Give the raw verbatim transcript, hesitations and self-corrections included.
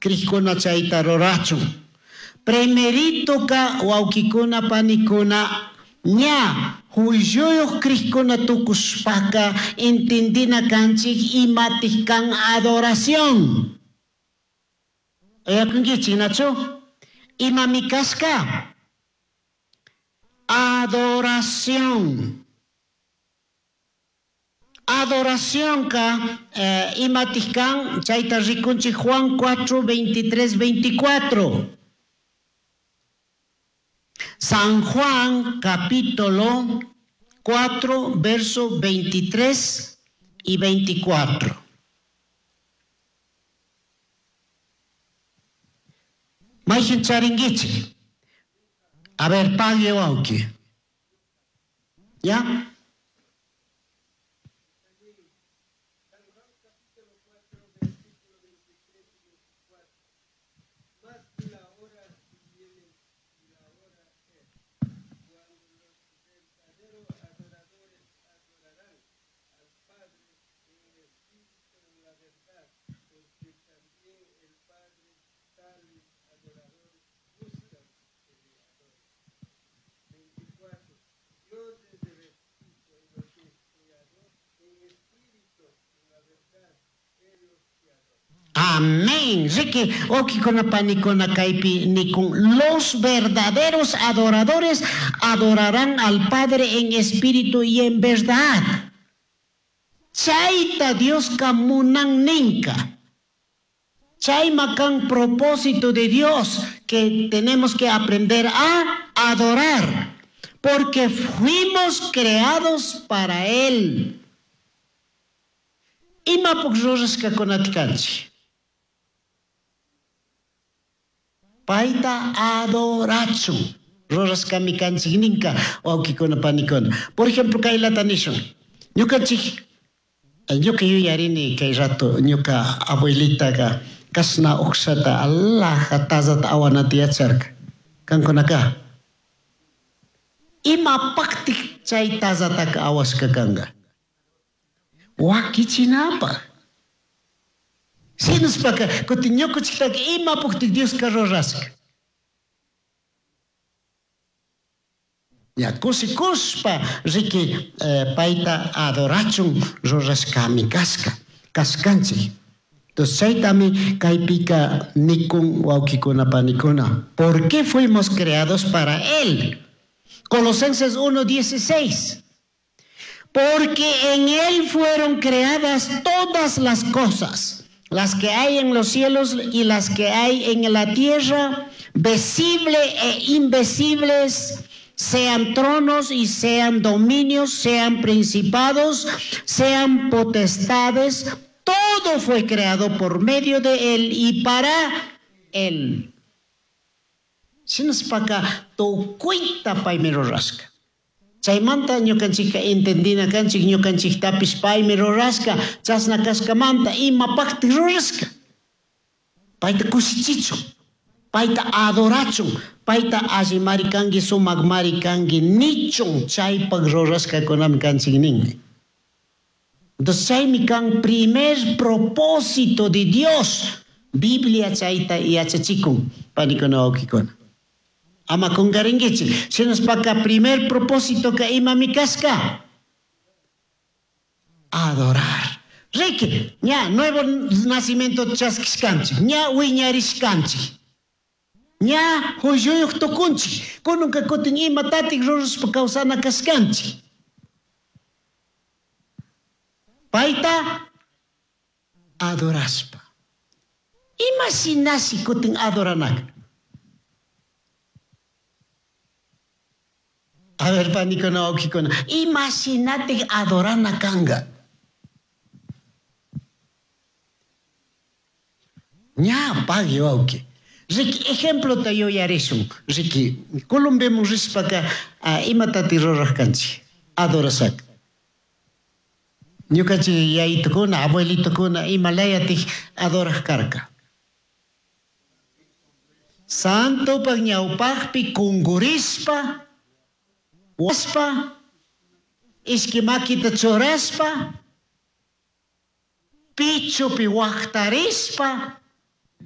Crijkuna chayta rurachun. Primeritoka wawkikuna panikuna ña juilluyuq crijkuna tukushpaka entendina kanchik imatik kan adoración. Uyakunkichik nachu? Imami kashka? Adoración. Adoración ka eh, imatik kan chayta rikunchik Juan cuatro, veintitrés, veinticuatro. San Juan capítulo cuatro, verso veintitrés y veinticuatro. Mayhin charinguichik. A ver, pague wauki. ¿Ya? Amén. Ricky, okikuna panikuna kaypi nikun. Los verdaderos adoradores adorarán al Padre en espíritu y en verdad. Chayta Dioska munan ninka. Chayma kan propósito de Dios que tenemos que aprender a adorar, porque fuimos creados para Él. Imapuk rurashkakunata kanchik. Payta adorachun. Rurashkami kanchik ninka wawkikuna panikuna. Por ejemplo, kaylata nishun. Ñukanchik, ñuka yuyarini kay rato, ñuka abuelitaqa kashna uqshata alaja tazata awanata yacharka. Kankunaka. Imapaqtik chay tazataka awashka kanka? Wakichinapaq. Shinashpaka kutin ñukanchiktaka imapaqtik Dioska rurashka. Ya kushikushpa riki, eh, payta adorachun rurashkami kashka, kashkanchik. Entonces chaytami kaypika nikun wawkikuna panikuna. ¿Por qué fuimos creados para él? Colosenses uno dieciséis. Porque en él fueron creadas todas las cosas, las que hay en los cielos y las que hay en la tierra, visible e invisibles, sean tronos y sean dominios, sean principados, sean potestades, todo fue creado por medio de él y para él. Shinashpaka tukuyta paymi rurashka. Chaymanta ñukanchikka entendina kanchik ñukanchiktapish paymi rurashka, chashna kashkamanta imapaqtik rurashka. Payta kushichichun, payta adorachun, payta allimari kanki, sumakmari kanki nichun, chaypak rurashkakunami kanchik ninmi. Entonces chaymi kan primer propósito de Dios. Biblia chayta yachachikun, panikuna wawkikuna. Ama kungarinkichik. Shinashpaka primer propósito ka imami kashka? Adorar. Riki, ña nuevo nacimiento chaskishkanchik, ña wiñarishkanchik, ña hulluyuq tukunchik, kununka kutin imatatik rurashpa kawsana kashkanchik. Payta adorashpa. Ima shinashi kutin adoranaka? A ver, panikuna, wawkikuna, ima shinatik adorana kanga? Ña, pagui, wawki. Riki, ejemplo ta yuyarishun. Riki, Colombiaman rishpaka, ah, imatati ruraj kanchik? Adorashaka. Ñukanchik yayitukuna, abuelitukuna, imalayatik adoraj karka. Santopak ñawpakpi kungurishpa, waspa, ishki makita churashpa, pichupi waktarishpa,